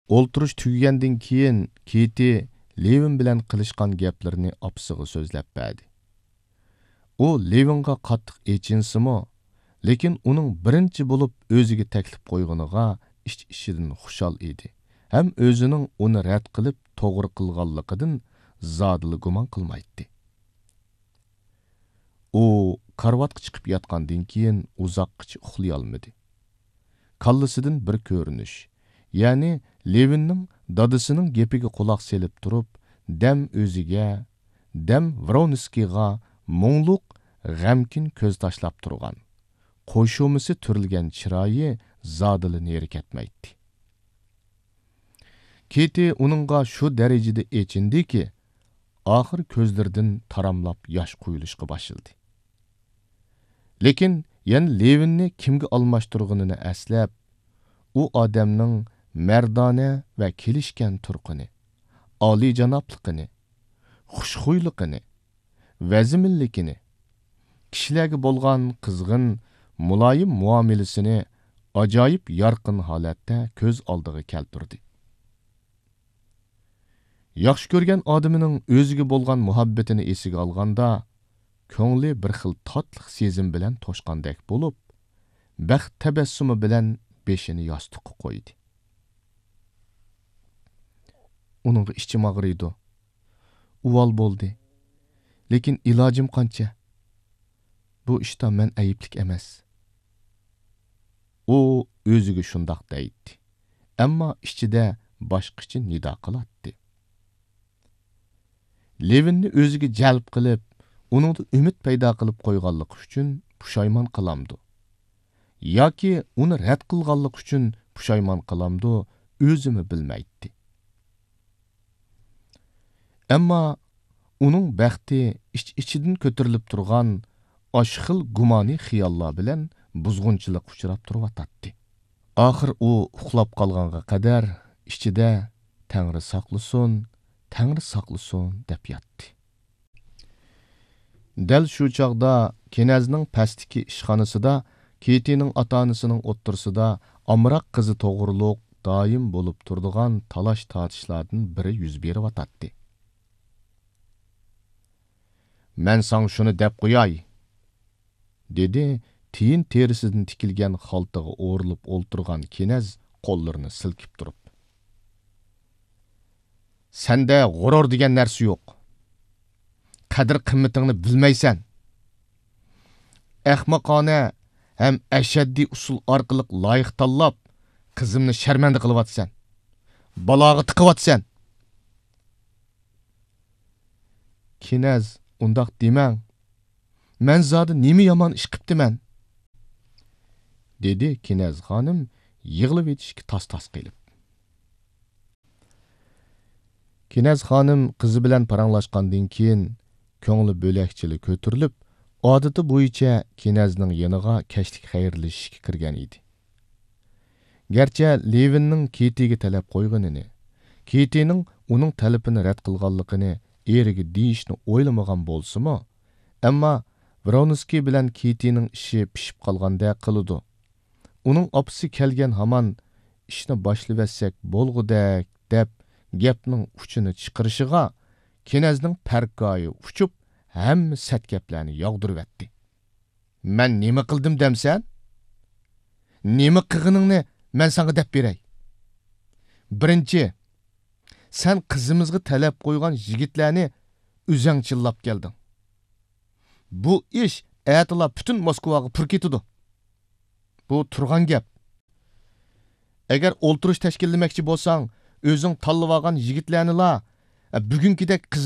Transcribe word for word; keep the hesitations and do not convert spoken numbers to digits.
ئولتۇرۇش تۈگىگەندىن كېيىن، كېتى لېۋىن بىلەن قىلىشقان گەپلىرىنى ئاپىسىغا سۆزلەپ بەردى. ئۇ لېۋىنغا قاتتىق ئېچىنسىمۇ، لېكىن ئۇنىڭ بىرىنچى بولۇپ ئۆزىگە تەكلىپ قويغىنىغا ئىچ-ئىچىدىن خۇشال ئىدى ھەم ئۆزىنىڭ ئۇنى رەت قىلىپ توغرا قىلغانلىقىدىن زادىلا گۇمان قىلمايتتى. ئۇ كارىۋاتقا چىقىپ ياتقاندىن كېيىن ئۇزاققىچە ئۇخلىيالمىدى. كاللىسىدىن بىر كۆرۈنۈش، يەنى لېۋىننىڭ دادىسىنىڭ گېپىگە قۇلاق سېلىپ تۇرۇپ، دەم ئۆزىگە، دەم ۋرونسكىيغا مۇڭلۇق، غەمكىن كۆز تاشلاپ تۇرغان، قوشۇمىسى تۈرۈلگەن چىرايى زادىلا نېرى كەتمەيتتى. كېتى ئۇنىڭغا شۇ دەرىجىدە ئېچىندىكى، ئاخىر كۆزلىرىدىن تاراملاپ ياش قۇيۇلۇشقا باشلىدى. لېكىن يەنە لېۋىننى كىمگە ئالماشتۇرغىنىنى ئەسلەپ، ئۇ ئادەمنىڭ مەردانە ۋە كېلىشكەن تۇرقىنى، ئالىيجانابلىقىنى، خۇشخۇيلۇقىنى، ۋەزمىنلىكىنى، كىشىلەرگە بولغان قىزغىن، مۇلايىم مۇئامىلىسىنى ئاجايىپ يارقىن ھالەتتە كۆز ئالدىغا كەلتۈردى. ياخشى كۆرگەن ئادىمىنىڭ ئۆزىگە بولغان مۇھەببىتىنى ئېسىگە ئالغاندا، كۆڭلى بىر خىل تاتلىق سېزىم بىلەن توشقاندەك بولۇپ، بەخت تەبەسسۇمى بىلەن بېشىنى ياستۇققا قويدى. ئۇنىڭغا ئىچىم ئاغرىيدۇ. ئۇۋال بولدى. لېكىن ئىلاجىم قانچە؟ بۇ ئىشتا مەن ئەيىبلىك ئەمەس. ئۇ ئۆزىگە شۇنداق دەيتتى، ئەمما ئىچىدە باشقىچە نىدا قىلاتتى. لېۋىننى ئۆزىگە جەلپ قىلىپ، ئۇنىڭدا ئۈمىد پەيدا قىلىپ قويغانلىقى ئۈچۈن پۇشايمان قىلامدۇ؟ ياكى ئۇنى رەت قىلغانلىقى ئۈچۈن پۇشايمان قىلامدۇ، ئۆزىمۇ بىلمەيتتى. ئەمما ئۇنىڭ بەختى ئىچ-ئىچىدىن كۆتۈرۈلۈپ تۇرغان ئاشۇ خىل گۇمانىي خىياللار بىلەن بۇزغۇنچىلىققا ئۇچراپ تۇرۇۋاتاتتى. ئاخىر ئۇ ئۇخلاپ قالغانغا قەدەر ئىچىدە «تەڭرى ساقلىسۇن، تەڭرى ساقلىسۇن» دەپ ياتتى. دەل شۇ چاغدا كېنەزنىڭ پەستىكى ئىشخانىسىدا كېتىنىڭ ئاتا-ئانىسىنىڭ ئوتتۇرىسىدا ئامراق قىزى توغرۇلۇق دائىم بولۇپ تۇرىدىغان تالاش-تارتىشلاردىن بىرى يۈز بېرىۋاتاتتى. «مەن ساڭا شۇنى دەپ قوياي»، دېدى تىيىن تېرىسىدىن تىكىلگەن خالتىغا ئورىلىپ ئولتۇرغان كېنەز قوللىرىنى سىلكىپ تۇرۇپ. «سەندە غۇرۇر دېگەن نەرسە يوق. قەدىر-قىممىتىڭنى بىلمەيسەن. ئەخمىقانە ھەم ئەشەددىي ئۇسۇل ئارقىلىق لايىق تاللاپ، قىزىمنى شەرمەندە قىلىۋاتىسەن. بالاغا تىقىۋاتىسەن.» «كېنەز، ئۇنداق دېمەڭ. مەن زادى نېمە يامان ئىش قىپتىمەن؟» دېدى كېنەز خانىم يىغلىۋېتىشكە تاس-تاس قېلىپ. كېنەز خانىم قىزى بىلەن پاراڭلاشقاندىن كېيىن، كۆڭلى بۆلەكچىلا كۆتۈرۈلۈپ، ئادىتى بويىچە كېنەزنىڭ يېنىغا كەچلىك خەيرلىشىشكە كىرگەن ئىدى. گەرچە لېۋىننىڭ كېتىگە تەلەپ قويغىنىنى، كېتىنىڭ ئۇنىڭ تەلىپىنى رەت قىلغانلىقىنى ئېرىگە دېيىشنى ئويلىمىغان بولسىمۇ، ئەمما ۋرونسكىي بىلەن كېتىنىڭ ئىشى پىشىپ قالغاندەك قىلىدۇ. ئۇنىڭ ئاپىسى كەلگەن ھامان «ئىشنى باشلىۋەتسەك بولغۇدەك» دەپ گەپنىڭ ئۇچىنى چىقىرىشىغا، كېنەزنىڭ پەرقايى ئۇچۇپ، ھەممە سەت گەپلەرنى ياغدۇرۇۋەتتى. «مەن نېمە قىلدىم دەمسەن؟ نېمە قىلغىنىڭنى مەن ساڭا دەپ بېرەي. بىرىنچى، سەن قىزىمىزغا تەلەپ قويغان يىگىتلەرنى ئۆزەڭ چىللاپ كەلدىڭ. بۇ ئىش ئەتىلا پۈتۈن موسكۋاغا پۇر كېتىدۇ. بۇ تۇرغان گەپ. ئەگەر ئولتۇرۇش تەشكىللىمەكچى بولساڭ، ئۆزۈڭ تاللىۋالغان يىگىتلەرنىلا، بۈگۈنكىدەك قىزىم